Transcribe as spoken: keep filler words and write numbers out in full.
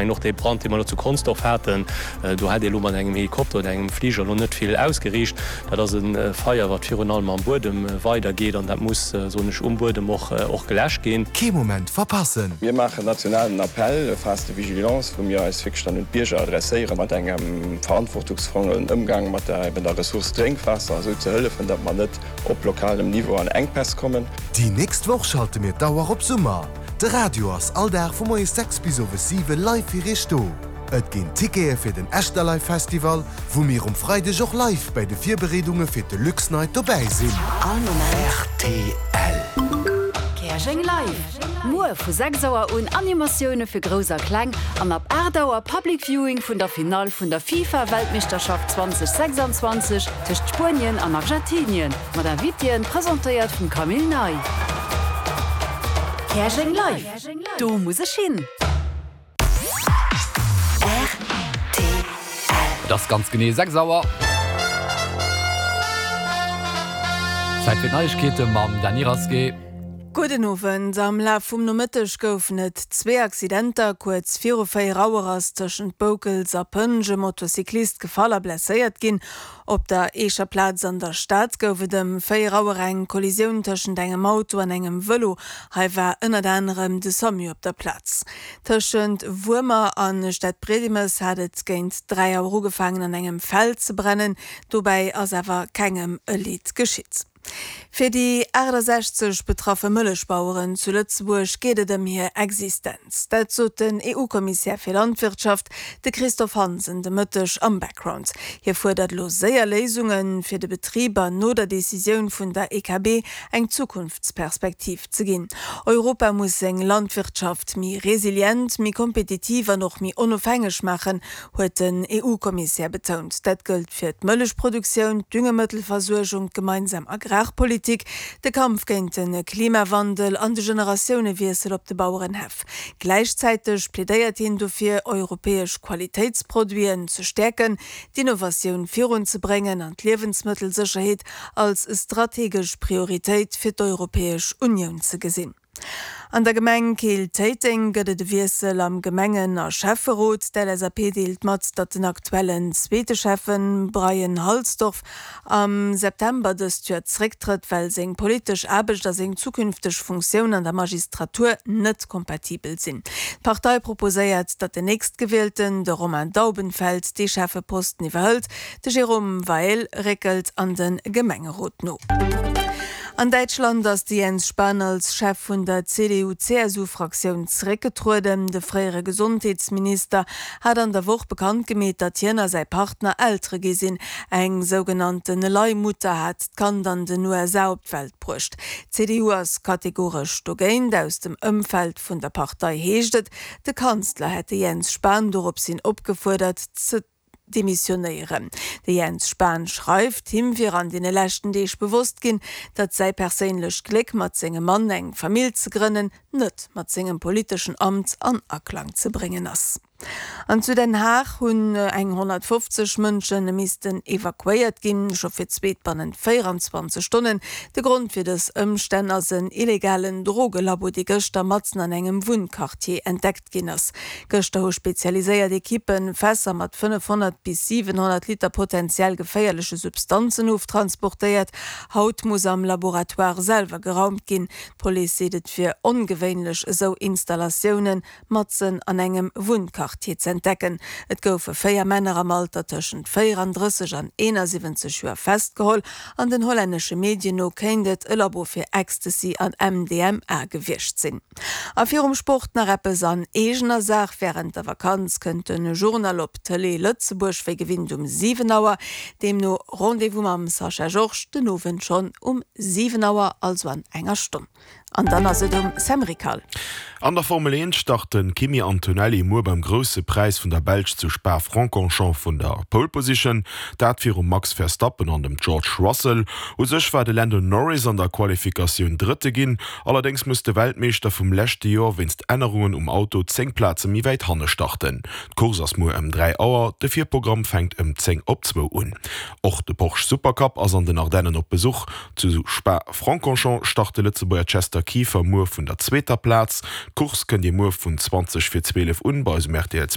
Och dee Brand, dee mer elo zu Consdorf haten, do hätt ee elo mat engem Helikopter oder engem Fliger elo net vill ausgeriicht. Dat ass e Feier, wat virun allem am Buedem weidergeet an dat muss, soen ech, um Buedem och och geläscht ginn. Kee Moment verpassen! Mir maachen nationalen Appell, Phase de vigilance, wou mir eis wierklech dann un d'Bierger adresséieren, mat engem verantwortungsvollen Ëmgang mat der eben der Ressource Drénkwaasser, esou ze hëllefen, datt mer net op lokalem Niveau an Enkpäss kommen. Déi nächst Woch schalte mir d'Auer op Summer. De Radio ass all Dag vu moies sechs bis owes siwe live fir iech do. Et ginn Tickete fir den Echterlive Festival, wou mir um Freideg och live bei de Virbereedunge fir d'Deluxe Night dobäi sinn. All Moment. Rtl. Käerjeng Live! Muer vu sechs Auer un Animatioune fir Grouss a Kleng an ab aacht Auer Public Viewing vun der Finall vun der FIFA-Weltmeeschterschaft zweitausendsechsundzwanzeg tëscht Spuenien an Argentinien mat Invitéen, presentéiert vum Camille Ney. Käerjeng Live! Do muss ech hin! Rtl. Et ass ganz genee sechs Auer. Zäit fir d'Neiegkeete mam Dany Rasqué. Gudden Owend. Am Laf vum Nomëtteg goufen et zwee Accidenter. Kuerz viru véier Auer ass tëschent Boukels a Pënsch e Motocyclist gefall a blesséiert ginn. Op der Eecher Plaz an der Stad gouf et ëm véier Auer eng Kollisioun tëschent engem Auto an engem Vëlo. Hei war ënnert anerem de Samu op der Plaz. Tëschent Wuermer a Stadbriedemes hat et géint dräi Auer ugefaangen an engem Feld ze brennen. Dobäi ass awer kengem e Leed geschitt. Fir déi achtesechzeg betraffe Mëllechbaueren zu Lëtzebuerg geet et ëm hir Existenz. Dat sot den E U-Kommissär fir Landwirtschaft, de Christophe Hansen, de Mëtteg am Background. Hie fuerdert elo séier Léisunge fir de Betriber no der Decisioun vun der E K B eng Zukunftsperspektiv ze ginn. Europa muss seng Landwirtschaft méi resilient, méi kompetitiv an och méi onofhängeg maachen, huet den E U-Kommissär betount. Dat gëllt fir d'Mëllechproduktioun, d'Düngemëttelversuergung, d'gemeinsam Agrarpolitik, de Kampf géint de Klimawandel an de Generatiounewiessel op de Bauerenhäff. Gläichzäiteg plädéiert hien dofir, europäesch Qualitéitsproduiten ze stäerken, d'Innovatioun virunzebréngen an d'Liewensmëttelsécherheet als strategesch Prioritéit fir d'Europäesch Unioun ze gesinn. An der Gemeng Keel-Téiteng gëtt et e Wiessel am Gemengen a Schäfferot. D'L S A P deelt mat, datt den aktuellen zweete Schäffen Brian Halsdorf am September dëst Joer zerécktrëtt, well seng politesch Aarbecht a seng zukünfteg Funktioun an der Magistratur net kompatibel sinn. D'Partei proposéiert, datt den Nächstgewielten, de Romain Daubenfeld, dee Schäffeposten iwwerhëlt. De Jérôme Weill réckelt an de Gemengerot no. An Däitschland ass de Jens Spahn als Chef vun der C D U-C S U-Fraktioun zeréckgetrueden. De fréiere Gesondheetsminister hat an der Woch bekannt gemeet, datt hien a säi Partner Eltere gi sinn. Eng sougenannte Leihmutter hat d'Kand an den U S A op d'Welt bruecht. D'C D U ass kategoresch dogéint. Aus dem Ëmfeld vun der Partei heescht et, de Kanzler hätt de Jens Spahn doropshin opgefuerdert ze demissionéieren. De Jens Spahn schreift, him wier an deene leschten Deeg bewosst ginn, datt säi perséinlecht Gléck mat sengem Mann eng Famill ze grënnen, net mat sengem politeschen Amt an Aklang ze bréngen ass. An zu Den Haag hunn eng honnertfofzeg Mënsche missten evakuéiert ginn, scho fir d'zweet bannent véierenzwanzeg Stonnen. De Grond fir dës Ëmstänn ass en illegalen Drogelabo, dee gëschter matzen an engem Wunnquartier entdeckt ginn ass. Gëschter hu spezialiséiert Ekippe Fässer mat fënnefhonnert bis siwenhonnert Liter potenziell geféierleche Substanzen oftransportéiert. Haut muss am Laboratoire selwer geraumt ginn. D'Police seet, et wier ongewéinlech, esou Installatioune matzen an engem Wunnquartier z'entdecken. Et goufe véier Männer am Alter tëschent véierandrësseg an eenasiwwenzeg Joer festgeholl. An den hollännesche Medien no kéint et e Labo fir Ecstasy an M D M A gewiescht sinn. A virum Sport nach eppes an eegener Saach. Wärend der Vakanz kënnt de Journal op Tëlee Lëtzebuerg wéi gewinnt um siwen Auer. Deemno Rendez-vous mam Sascha Georges den Owend schonn um siwen Auer, also an enger Stonn. An dann ass et um Sam Rickal. An der Formel eent start de Kimi Antonelli muer beim Grousse Präis vun der Belsch zu Spa-Francorchamps vun der Pole Position, dat virum Max Verstappen an dem George Russell. U sech war de Lando Norris an der Qualifikatioun Drëtte ginn, allerdéngs muss de Weltmeeschter vum leschte Joer wéinst Ännerungen um Auto zéng Plaze méi wäit hanne starten. D'Course ass muer ëm dräi Auer, de Virprogramm fänkt ëm zéng op zwou un. Och de Porsche Supercup ass an den Ardennen op Besuch. Zu Spa-Francorchamps start de Lëtzebuerger Chester Alistair Kiefer muer vun der zweeter Plaz. D'Course kënnt Dir muer vun zwanzeg vir zwielef un bei eis um rtl.